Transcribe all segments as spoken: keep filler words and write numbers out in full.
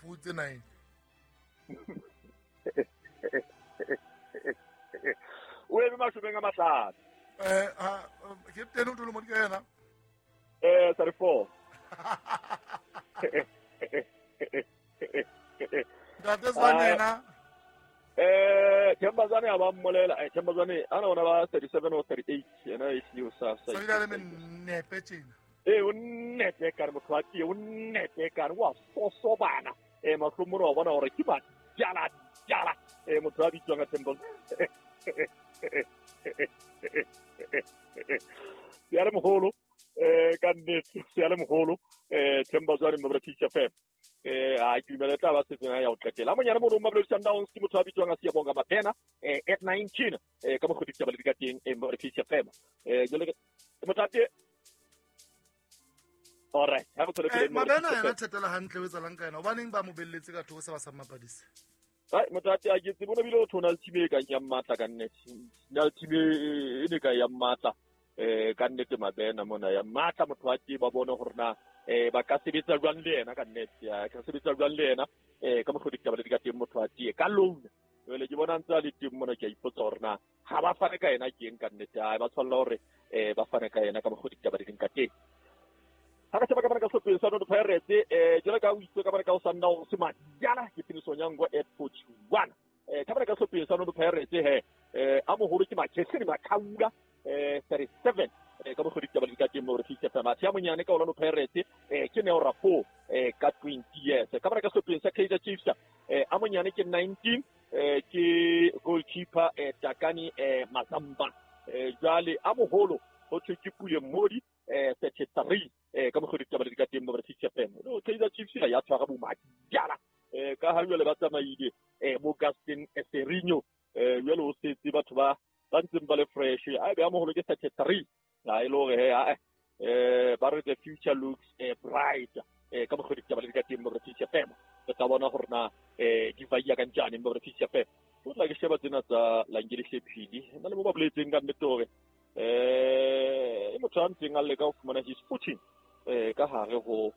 Futse nine. O eme mashomeng a mahlano. Eh ha captain o tlo mo di yena. Eh thirty-four. Ntate Zwane yena. Eh Themba Zwane a ba mmolela, eh Themba Zwane ana ona ba thirty-seven or thirty-eight yena e hlile o sa sa. Sa ile le nepe tjena. Eh o nepe ka re motho wa tee, o nepe ka re wa sosobana. Eh mahlomong wa bona hore ke ba jala jala. Eh motho a bitswang ka Themba. Ya le moholo eh ka nnete ya le moholo eh Themba Zwane mo British F M. Eh a ke dumela tla ba setseng ya ho qetela. Monyane mo Mamelodi Sundowns ke motho a bitswang a Siyabonga Mabena eh at nineteen eh ka mokgwa ditaba le di ka teng eh mo British F M. Eh jole ke motho a tee. All right, ha go tswele pele. Mabena yena thetela hantle o etsalang ka yena. Hobaneng ba mo belletse ka thoko se ba sa mmapadise? Ai motho a tee a ke tsebe bona bile o thona le team e kang ya matla ka nnete. Na le team e ne ka ya matla eh ka nnete Mabena mona ya matla motho a tee ba bone hore na eh ba ka sebetsa jwang le yena ka nnete. Ya ka sebetsa jwang le yena eh ka mokgwa ditaba le di ka teng motho a tee ka loan. Jwale ke bona ntse a le teng mona ke a ipotsa hore na ha ba fane ka yena ke eng ka nnete. Ai ba tshwanela hore eh ba fane ka yena ka mokgwa ditaba di ka teng. Ha ka sheba ka bana ka sehlopeng sa Orlando Pirates eh jwale ka o itse ka bana ka o Sundowns Madiala ke Phiniso Nyango at forty-one. Eh ka bana ka sehlopeng sa Orlando Pirates he eh a moholo ke Makhehleni Makhaula eh thirty-seven eh ka mokgwa ditaba di ka teng mo re fihla fa mathe a monyane ka Orlando Pirates eh ke Neo Rapo eh ka twenty years. Ka bana ka sehlopeng sa Kaizer Chiefs eh a monyane ke nineteen eh ke goalkeeper eh Takani eh Mazamba. Eh jwale a moholo ho thwe ke Pule Mmodi eh thirty-three eh ka mokgwa ditaba di ka teng mo British F M. No Kaizer Chiefs ya tshwara bo Madiala eh ka ha jwale ba tsamaile eh bo Gaston Serinho eh jwale o setse batho ba ba ntseng ba le fresh. A be a moholo ke thirty-three ha e le hore he a eh ba re the future looks eh bright eh ka mokgwa ditaba di ka teng mo British F M. Re tla bona hore na eh di vaya ka njani mo British F M. O tla ke sheba tsena tsa Langeli Hlephili nna le mo ba boletseng ka nnete hore eh e motho a ntseng a leka ho fumana his footing eh ka hare ho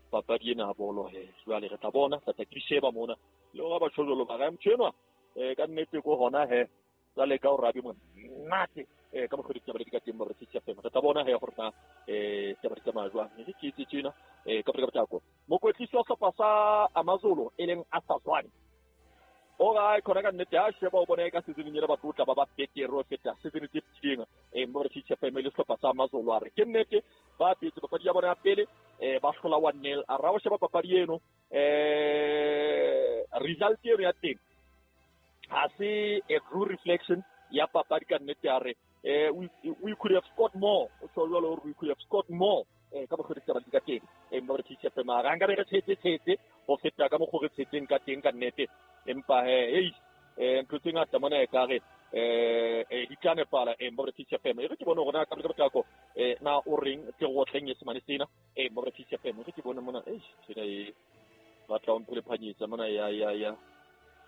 papadi ena ya bolo he. Jwale re tla bona tla tla ke sheba mona le hore ba tjho ba ra motho enwa eh ka nnete ko hona he tsa leka ho rabi monate eh ka mokgwa ditaba di ka teng mo British F M. Re tla bona he hore na eh taba di tsamaya jwang. Mme ke itse tjena eh ka ka potlako mokwetlisi wa sehlopha sa AmaZulu e leng Arthur Zwane o ra khona ka nnete a sheba o bona ka season ena ba tlotla ba ba betere ho feta season tse fetileng eh mo British F M le sehlopha sa AmaZulu a re ke nnete ba petse papadi ya bona ya pele eh ba hlola one nil. A ra o sheba papadi eno eh result eno ya teng ha se a true reflection ya papadi ka nnete a re eh we, we could have scored more. O tjho jwalo hore we could have scored more eh ka mokgwa ditaba di ka teng eh mo British F M a ra nka be re tshetse tshetse ho feta ka mokgwa re tshetseng ka teng ka nnete. Empa he ei eh ntho tse ngata mona e ka re eh eh di tla nepala eh mo British F M. E re ke bone hore na ka potlako eh na o reng ke go tleng e semane sena eh mo British F M. E re ke bone mona eh tshena e batla o mpole phanyetsa mona ya ya ya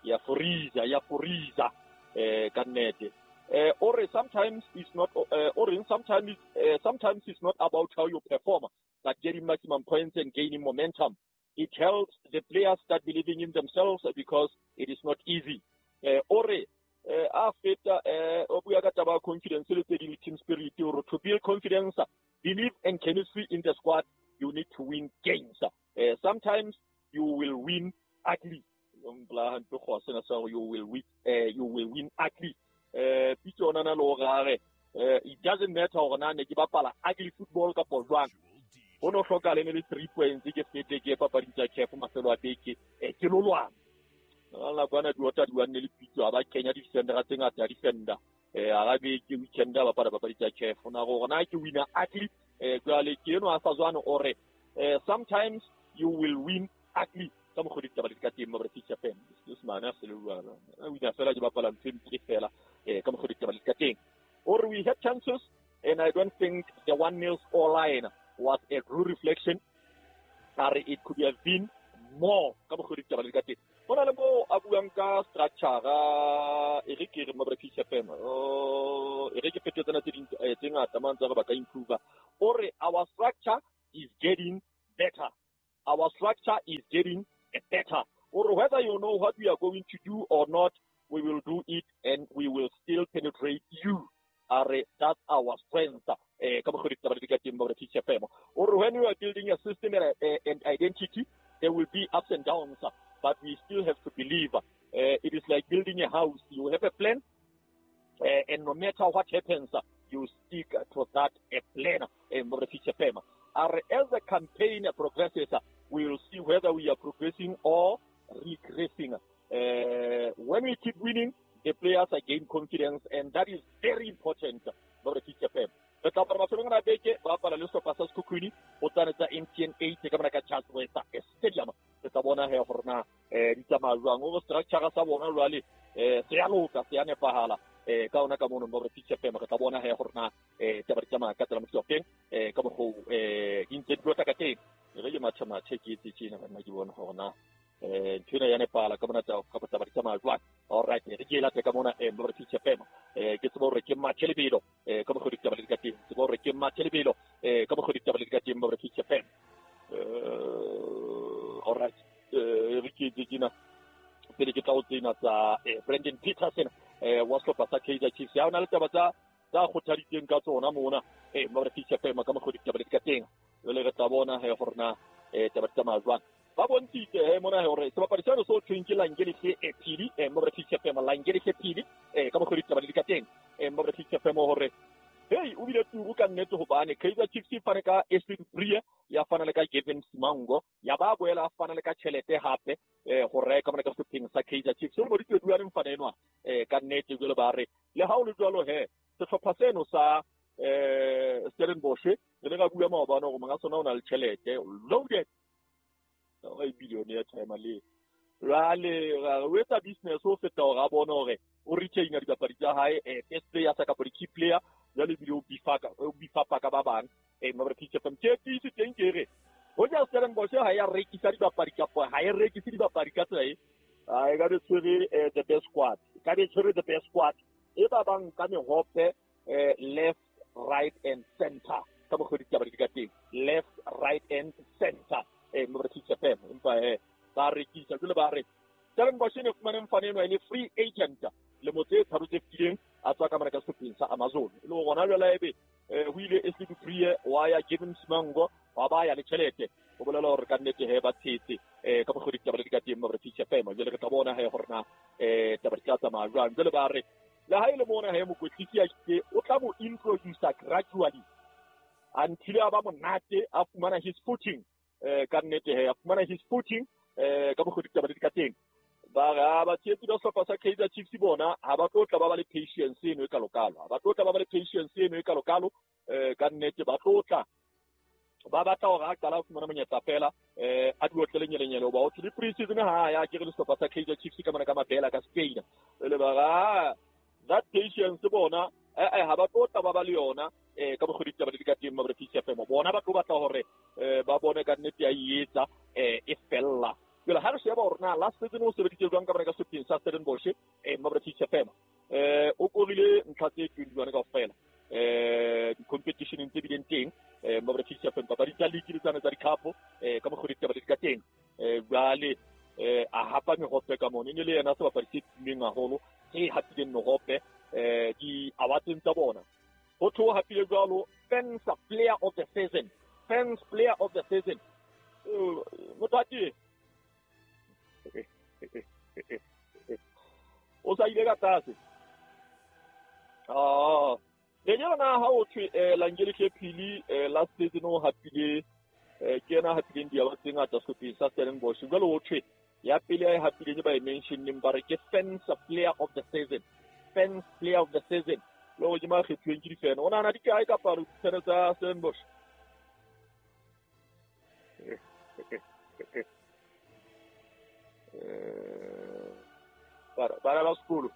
ya foriza ya foriza eh ka nnete. Eh or sometimes it's not uh, or sometimes uh, sometimes it's not about how you perform but getting maximum points and gaining momentum. It helps the players start believing in themselves because it is not easy. Eh ore a feta eh o bua ka taba confidence le tse ding team spirit or to build confidence, belief and chemistry in the squad, you need to win games. Uh, sometimes you will win ugly. You will win uh, you will win ugly. Eh pitso ona na le hore eh it doesn't matter hore na ne ke bapala ugly football kapa jwang. Ho no hloka le le three points ke fete ke papading tsa C A F mafelo a beke eh ke lo lwana. La bana di ota di wanne le pitso a ba kenya di-defender tse ngata defender eh a beke weekend ba bapala papadi tsa C A F na gore na ke winner ugly eh jwale ke eno a sa zwane ore eh sometimes you will win ugly ka mokgwa ditaba di ka teng mo British F M. Se mane a se le jwalo a wina fela ke bapala ntho e fela eh ka mokgwa ditaba di ka teng. Or we had chances and I don't think the one nil score line was a true reflection. Are it could have been more ka mokgwa ditaba di ka teng. Bona le mo a buang ka structure e re ke re mo British F M oh e re ke fetetse tsena tse ding tse ngata mang tsa ba ka improve. Ore our structure is getting better. Our structure is getting better. Or whether you know what we are going to do or not, we will do it and we will still penetrate you. Are that's our strength. Eh, or when we are building a system and, uh, and identity, there will be ups and downs, but we still have to believe. Uh, it is like building a house. You have a plan, uh, and no matter what happens, you stick to that uh, plan. As the campaign progresses, we will see whether we are progressing or regressing. Uh, when we keep winning, the players gain confidence, and that is very important. Re tla apara mafelong a beke ba apara le sehlopha sa Sekhukhune go tsane tsa M T N eight ka mona ka Charles Wetsa Stadium. Re tla bona he gore na eh di tsamaya jwang o structure sa bona jwale eh se ya loka se ya nepahala eh ka ona ka mono mo re F M. Re tla bona he gore na eh taba di tsamaya ka tsela mo teng eh ka mokgo eh di ntse di lota ka teng. Re ke matha mathe ke etse tjena bana ke bona gore na eh ntho ya nepala ka bona tsa ka taba di tsamaya jwang. All right, re ke late ka mona eh mo re F M eh ke tsebo hore ke mathe lebelo eh ka mokgo di taba di ka teng. Tsebo hore ke mathe lebelo eh ka mokgo di taba di ka teng mo re F M. Eh all right, eh re ke tjena pele ke tla o tsena tsa Brandon Petersen eh wa sehlopha sa Kaizer Chiefs. Ya ona le taba tsa tsa kgothaditseng ka tsona mona eh mo re F M ka mokgo di taba di ka teng. Jwale re tla bona he gore na eh taba di tsamaya jwang. Ba bontshitse he mona hore sebapadi seno se thweng ke Langelihle Phili eh mo re F M Langelihle Phili eh ka mokgo di taba di ka teng eh mo re F M hore hey o bile turu ka nnete hobane Kaizer Chiefs e fane ka Ashley Brie ya fana le ka Gavin Simango ya ba boela a fana le ka tjhelete hape eh go reka mona ka sehlopheng sa Kaizer Chiefs. O mo di twe le mfana enwa eh ka nnete jwale ba re le ha o le jwalo he sehlopha seno sa eh Stellenbosch re le ka bua maobane hore monga sona o na le tjhelete loaded o e billionaire time le jwale o etsa business o feta hore a bone hore o retainer dibapadi tsa hae eh best player sa kapa di-key player jwale ebile o bifaka o bifapa ka ba bang eh mo re F M ke tiisi teng ke re hoja Stellenbosch ha ya rekisa dibapadi kapa ha e rekise dibapadi ka tsela e a e ka be tshwere the best squad ka be tshwere the best squad e ba bang ka mehope eh left right and center ka mokgo ditaba di ka teng left right and center eh mo re F M empa eh ba rekisa jwale ba re Stellenbosch ne fumane mfana enwa e le free agent le motse tharo tse fetileng a tswa ka mona ka sehlopheng sa Amazon e le gona jwale ebe ho ile Ashley Brie wa ya Gavin Simango wa ba ya le tjhelete o bolela hore ka nnete he ba tshetse eh ka mokgo ditaba di ka teng mo re F M jwale re tla bona he gore na eh taba di tla tsamaya jwang. Jwale ba re le ha ile mona he mokwetlisi a itse o tla mo introduce gradually until a ba monate a fumana his footing eh ka nnete he a fumana his footing eh ka mokgo ditaba di ka teng. Ba ra ba tshehetsi ba sehlopha sa Kaizer Chiefs bona ha ba tlo tla ba ba le patience eno e kalokalo ha ba tlo tla ba ba le patience eno e kalokalo eh ka nnete ba tlo tla ba batla hore a qala ho fumana monyetla fela eh a di otlele nyelenyele hoba o thole pre-season ha ya ke re le sehlopha sa Kaizer Chiefs ka mona ka mabela ka Spain le ba ra that patience bona eh eh ha ba tlo tla ba ba le yona eh ka mokgo ditaba di ka teng mo re F M bona ba tlo batla hore ba bone ka nnete ya etsa eh e fella. Jwale ha re sheba hore na last season o sebeditse jwang ka mona ka sehlopheng sa Stellenbosch eh mo re F M eh o korile ntlha tse twenty-one kaofela eh di-competition tse bileng teng eh mo re F M papadi tsa league le tsane tsa di-cup eh ka mokgo ditaba di ka teng eh jwale eh a hapa mehope ka mona e ne le yena sebapadi se tummeng haholo se hapileng mehope eh di-awards tsa bona ho tho hapile jwalo fans player of the season fans player of the season motho a teng o sa ile ka tlase ah le yona ha o thwe Langelihle Phili last season o hapile ke yena hapileng diaba tse ngata sehlopheng sa Stellenbosch jwale o thwe ya pele a e hapileng ba e mentioneng ba re ke fans player of the season fans player of the season le go ke makgethuweng ke difene o nahana di kae ka palo difene tsa Stellenbosch bara bara ba sekolo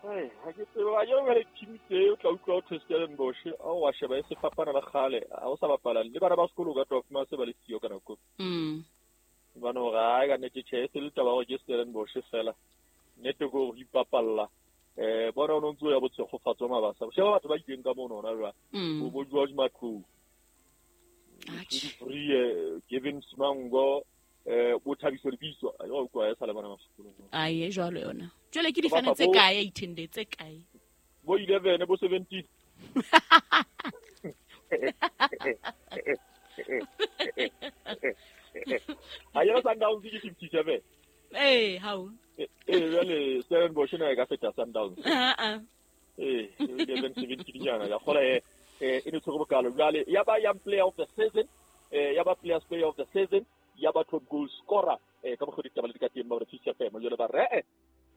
hey ha ke tsebe ba yona le team tse o tla utlwa o thwe Stellenbosch a wa sheba e se fapana le kgale ha o sa bapala le bana ba sekolo ka tlo fuma se ba le siyo ka nako mm bana hore ha ka nnete tjhe se le taba hore ke Stellenbosch fela nnete ko ho ipapalla eh bona o ntse o ya botshegofatso mabasa sheba batho ba ileng ka mono hona jwale bo bo George Matlou Brie Gavin Simango eh bo Thabiso Lebitso a yo kwa sa le bana ba sekolong a e jwalo yona jwale ke difane tse kae eighteen tse kae bo eleven bo seventeen a yena Sundowns ke fifty-seven eh how eh jwale Stellenbosch na e ka feta Sundowns ah ah eh eleven seventeen nyana ya khola eh e ne tshwere bokalo jwale ya ba young player of the season eh ya ba players player of the season ya ba top goal scorer eh ka mokgwa ditaba le di ka teng ba re Chiefs F M jwale ba re eh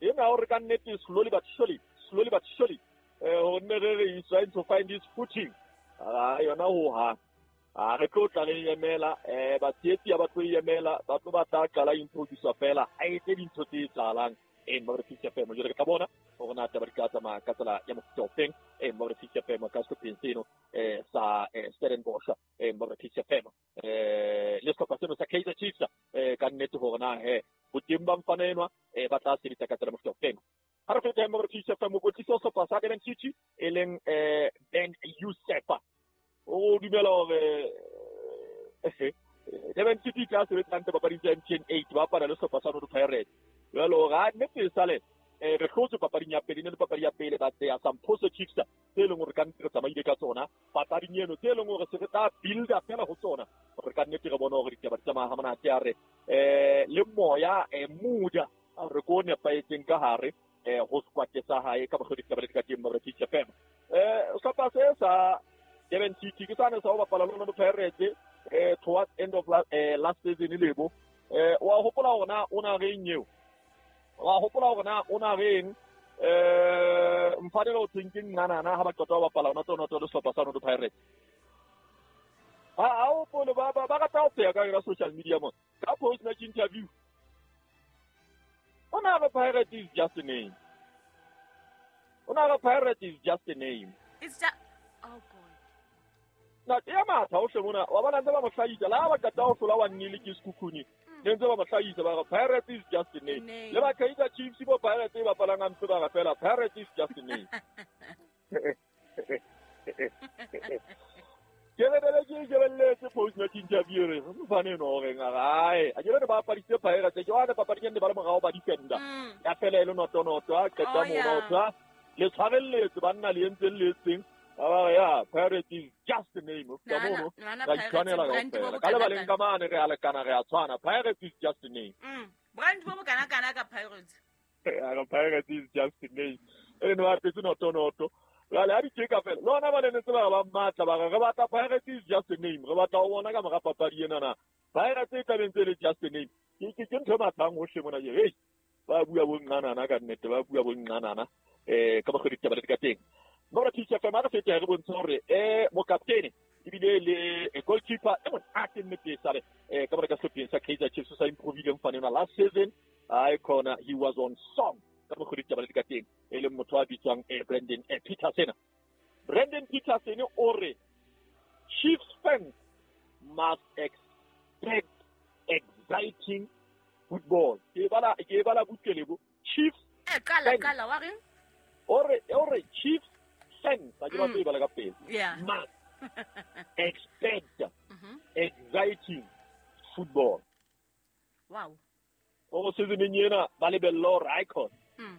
ena o re ka nnete slowly but surely slowly but surely eh ho nne re re is trying to find his footing a yona ho ha a re tlo tla re emela eh ba tsietsi ba tlo emela ba tlo ba tla qala introduce fela a etse dintho tse tsalang eh ba re Chiefs F M jwale ka bona hore na taba di ka tsamaya ka tsela ya mofuta o feng eh ba re Chiefs F M ka sehlopheng seno eh sa Stellenbosch eh ba re Chiefs F M eh le sehlopha seno sa Kaizer Chiefs eh ka nnete hore na he boteng ba mfana enwa eh ba tla sebetsa ka tsela mofuta o feng ha re feta ba re Chiefs F M mokwetlisi wa sehlopha sa Durban City e leng eh Ben Youssef o dumela hore eh Durban City tla sebetsa hantle papading tsa M T N eight ba bapala le sehlopha sa Orlando Pirates jwalo ga nnete sale eh re hlotse papading ya pele ne le papadi ya pele ba tseya some positives tse leng hore ka nnete re tsamaile ka tsona papading eno tse leng hore se re tla builda fela ho tsona hore ka nnete re bone hore ditaba di tsamaya ha monate a re eh le moya eh mood re ko nepahetseng ka hare eh ho squad sa hae ka mokgwa ditaba di ka teng ba re Chiefs F M eh sehlopha se sa Durban City ke sane sa ho bapala le Orlando Pirates eh towards end of last, eh, last season lebo eh wa hopola hore na o na reng eo wa hopola hore na o na reng eh mfanelo o thinking nana ha ba qeta ho bapala ona tsona tsona sehlopha sa Orlando Pirates ha ha o pole ba ba rata ho pheha ka yona social media mo ka post match interview o na re Pirates is just a name o na re Pirates is just a name it's just oh god na ya matha o hle mona wa bona ntse ba mo hlahisa la ba qeta ho hlola wa nnile ke Sekhukhune ne ntse ba mo hlahisa ba re Pirates is just a name le ba Kaizer Chiefs bo Pirates e bapalang hampe ba re fela Pirates is just a name ke re bele ke shebelletse post match interview re mfane no reng a a ke re ba bapaditse Pirates ke wa papading ne ba le morao ba defender ya fela e le noto noto a qeta mono tsa le tshwarelletse banna le entseng le etseng ba ya Pirates is just a name ka mono ra tshwanela kaofela ka lebaleng ka mane re a lekana re a tshwana Pirates is just a name mm brand bo kana kana ka Pirates ya Pirates is just a name e no a tse noto noto la la di tsheka fela lona ba le ntse ba ba matla ba re batla Pirates is just a name re batla ho bona ka mora papadi ena na Pirates e tla bentse le just a name ke ke ke ntho e matlang ho hle mona ke hey ba bua bo nqanana ka nnete ba bua bo nqanana eh ka mokgwa ditaba di ka teng Nora Chiefs F M a re fete re bontshe hore eh mokaptene ebile le goalkeeper e monate nnete sale eh ka mora ka sehlopheng sa Kaizer Chiefs sa improvile mfane ona last season ai khona he was on song ka mokgwa ditaba di ka teng e leng motho a bitswang eh Brandon eh, Petersen Brandon Petersen o re Chiefs fans must expect exciting football ke bala ke bala butlelebo Chiefs eh qala qala wa reng o re o re Chiefs fans a ke ba tseba la ka pele must expect mm-hmm. exciting football wow o season ena ba lebella hore icon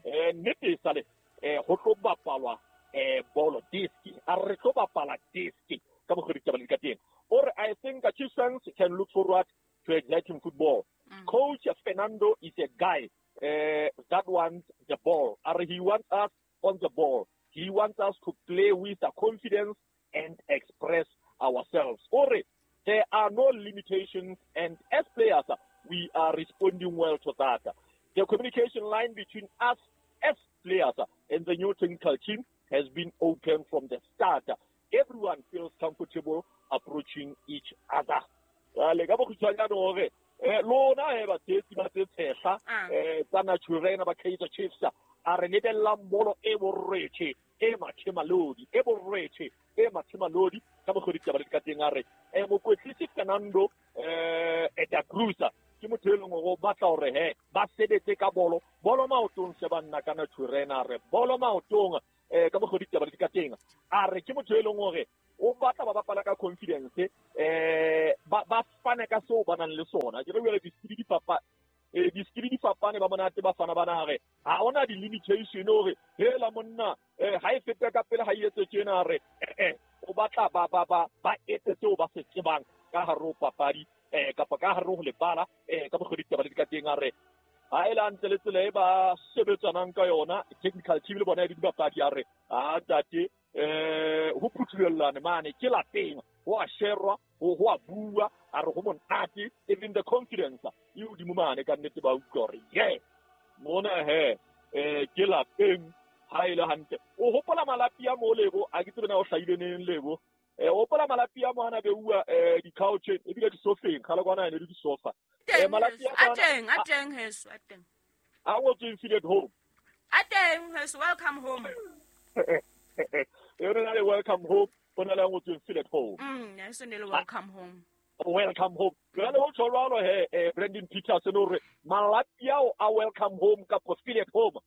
eh nnete sale eh ho tlo bapalwa eh bolo diski a re tlo bapala diski ka mokgwa ditaba di ka teng o re I think the Chiefs fans can look forward to exciting football mm. Coach Fernando is a guy uh, that wants the ball or he wants us on the ball. He wants us to play with the confidence and express ourselves. Ore, there are no limitations, and as players, we are responding well to that. The communication line between us as players and the new technical team has been open from the start. Everyone feels comfortable approaching each other. Le ka bokgutshwanyane hore eh lona he ba tsetsi ba tse tshehla eh tsa Naturena ba Kaizer Chiefs a re lebellang bolo e borwethe e mathemalodi e borwethe e mathemalodi ka mokgwa ditaba di ka teng a re eh mokwetlisi Fernando eh Eda Cruz ke motho e leng hore o batla hore he ba sebetse ka bolo bolo maotong se banna ka Naturena re bolo maotong eh ka mokgwa ditaba di ka teng a re ke motho e leng hore o batla ba bapala ka confidence eh ba ba fane ka seo ba nang le sona ke re jwale di-skill di fapa eh di-skill di fapane ba monate ba fana bana hare ha ona di-limitation hore hela monna eh ha e feta ka pele ha e etse tjena re eh o batla ba ba ba ba etse seo ba se tsebang ka hare ho papadi eh kapa ka hare ho lebala eh ka mokgwa ditaba le di ka teng a re ha e la ntle le tsela e ba sebetsanang ka yona technical team le bona di dibapadi a re a ntate eh ho phuthulellane mane ke lapeng ho a sherwa ho ho a bua a re ho monate even the confidence e hodimo mane ka nnete ba utlwa hore ye mona he eh ke lapeng ha e le hantle o hopola malapi a mo lebo a ke tsebe na o hlahile neng lebo eh o hopola malapi a mo ana beuwa eh di-couch ebile di-sofeng kgale kwana ene le di-sofa eh malapi a teng a teng heso a teng a ngotsweng feel at home a teng heso welcome home e re na le welcome home bona le ngotsweng feel at home mm heso ne le welcome home welcome home jwale ho tjho jwalo he eh Brandon Peterson o re malapi ao a welcome home kapa feel at home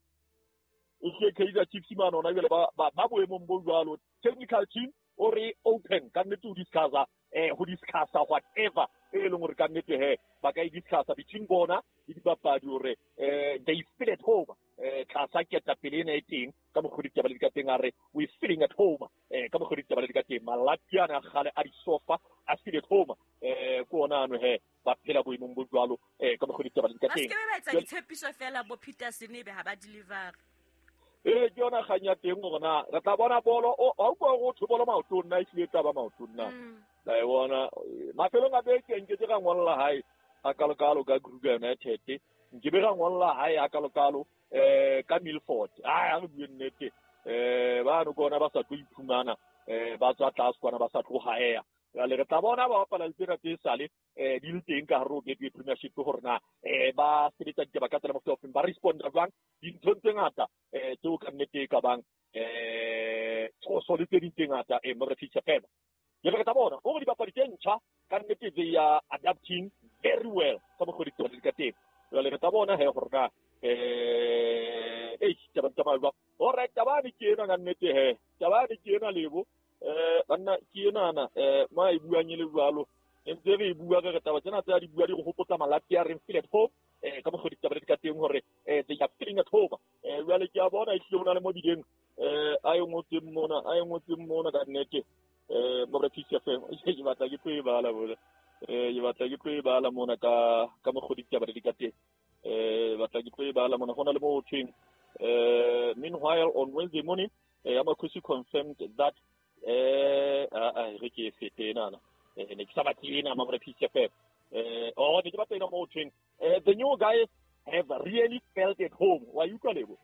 e ke Kaizer Chiefs mane ona jwale ba ba boemong bo jwalo technical team o re open ka nnete ho discussa eh ho discussa whatever e leng hore ka nnete he ba ka e discussa between bona le dibapadi hore eh they feel at home eh tlasa ketapele ena e teng ka mokgwa ditaba le di ka teng a re we feeling at home eh ka mokgwa ditaba le di ka teng malapi ana a kgale a disofa a feel at home eh ke ona ano he ba phela boemong bo jwalo eh ka mokgwa ditaba le di ka teng ba se ba etsa ditshepiso fela bo Peterson ebe ha ba deliver e ke yona kgang ya teng hore na re tla bona bolo o ha utlwa hore ho bolo maotong nna ehlile taba maotong na la e bona mafelong a beke nke ke ra ngolla hae a kalokalo ka Kruger United nke be ra ngolla hae a kalokalo eh ka Milford ai a re bue nnete eh ba no kona ba sa tlo iphumana eh ba tswa tlase kwana ba sa tlo haea jwale re tla bona ba bapala le tsena tse sale eh di le teng ka hare ho Betway Premiership hore na eh ba sebetsa ditaba ka tsela mofuta ofeng ba responda jwang dinthong tse ngata eh tseo ka nnete e ka bang eh tshoso le tse ding tse ngata eh mo re feature fela ke re tla bona hore dibapadi tse ntjha ka nnete they are adapting very well ka mokgwa ditaba di ka teng jwale re tla bona he hore na eh eh taba taba jwang hore taba ne ke ena ka nnete he taba ne ke ena lebo eh banna ke enana eh ma e buang e le jwalo ntse re e bua re taba tsena tsa di bua di go hopotsa malapi a reng feel at home eh ka mokgwa ditaba di ka teng hore eh they are feeling at home eh jwale ke a bona ehlile ho na le mo bileng eh a e ngotseng mona a e ngotseng mona ka nnete eh mo re F M ke batla ke tlo e bala bona eh ke batla ke tlo e bala mona ka ka mokgwa ditaba di ka teng eh batla ke tlo e bala mona ho na le mo ho thweng eh meanwhile on Wednesday morning eh Amakhosi confirmed that eh a re ke fete nana eh ne ke sa batle ena mo re F M eh oh ne ke batla ena mo thweng eh the new guys have really felt at home wa utlwa lebo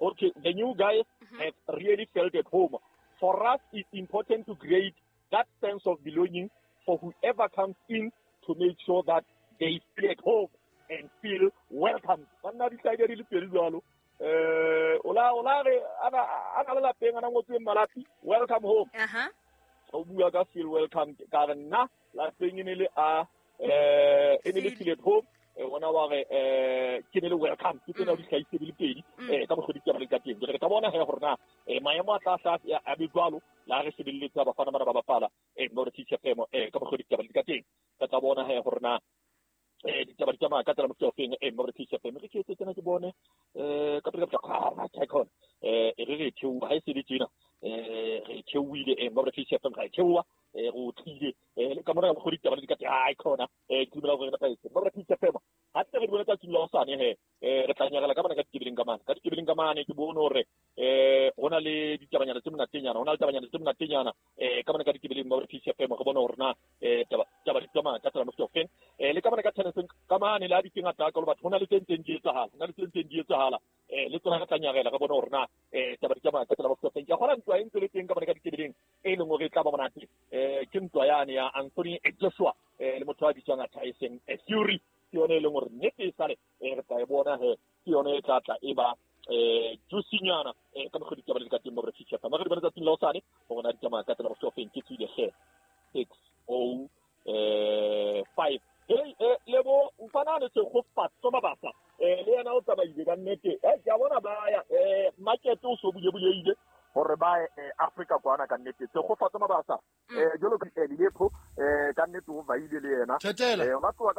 okay the new guys mm-hmm. have really felt at home. For us it's important to create that sense of belonging for whoever comes in to make sure that they feel at home and feel welcome. Banna di hlaile di le pedi jwalo eh ola ola re ana ana le lapeng ana ngotsweng malapi welcome home aha o bua ka feel welcome ka re nna lapeng e ne le a eh e ne le feel at home eh ona wa re eh ke ne le welcome ke tsena di hlaise di le pedi eh ka mokgwa ditaba le ka teng re tla bona he hore na eh maemo a tla tla a be jwalo la re sebelletsa bafana bana ba bapala eh mo re teacher F M eh ka mokgwa ditaba le ka teng re tla bona he hore na eh ditaba di tsamaya ka tsela mofuta ofeng eh mo re teacher F M re ke etse tsena ke bone eh ka pele ka pele ka khona eh re re theoha ha e se le tjena eh re theohile eh mo re teacher F M ga e theoha eh go tlile eh le ka mora go ditaba di ka teng ai khona eh ke dumela gore re nepahetse mo re teacher F M ha tse re di bona tsa tsila hosane he eh re tla nyagela ka bana ka ditebeleng ka mane ka ditebeleng ka mane ke bone hore eh hona le ditabanyana tse monatenyana hona le tabanyana tse monatenyana eh ka bana ka ditebeleng mo re teacher F M re bone hore na eh taba taba di tsamaya ka tsela mofuta ofeng eh le ka bana ka tennis ka mane le a di teng ata ka batho hona le tse ntseng di etsahala hona le tse ntseng di etsahala eh le tsona re tla nyagela re bone hore na eh taba di tsamaya ka tsela mofuta ofeng ke gona ntwa e ntse le teng ka bana ka ditebeleng e leng hore e tla ba monate eh ke ntwa yane ya Anthony Joshua eh le motho a bitswang Tyson Fury ke yone e leng hore nnete e sale eh re tla e bona he ke yone e tla tla e ba eh juicy-nyana eh ka mokgwa ditaba le ka teng mo re feature fa re di bona tsatsing la hosane hore na di tsamaya ka tsela mofuta ofeng ke tswile hle six oh eh five hey eh lebo mfana ne se go fatso mabasa eh le yena o tsamaile ka nnete eh ke a bona ba ya eh market o so bule buleile hore hore ba eh, Africa kwana ka nnete Tshegofatso Mabasa eh jwalo ka Lilepo eh ka nnete o vaile le yena Thetela. eh ba tloha ka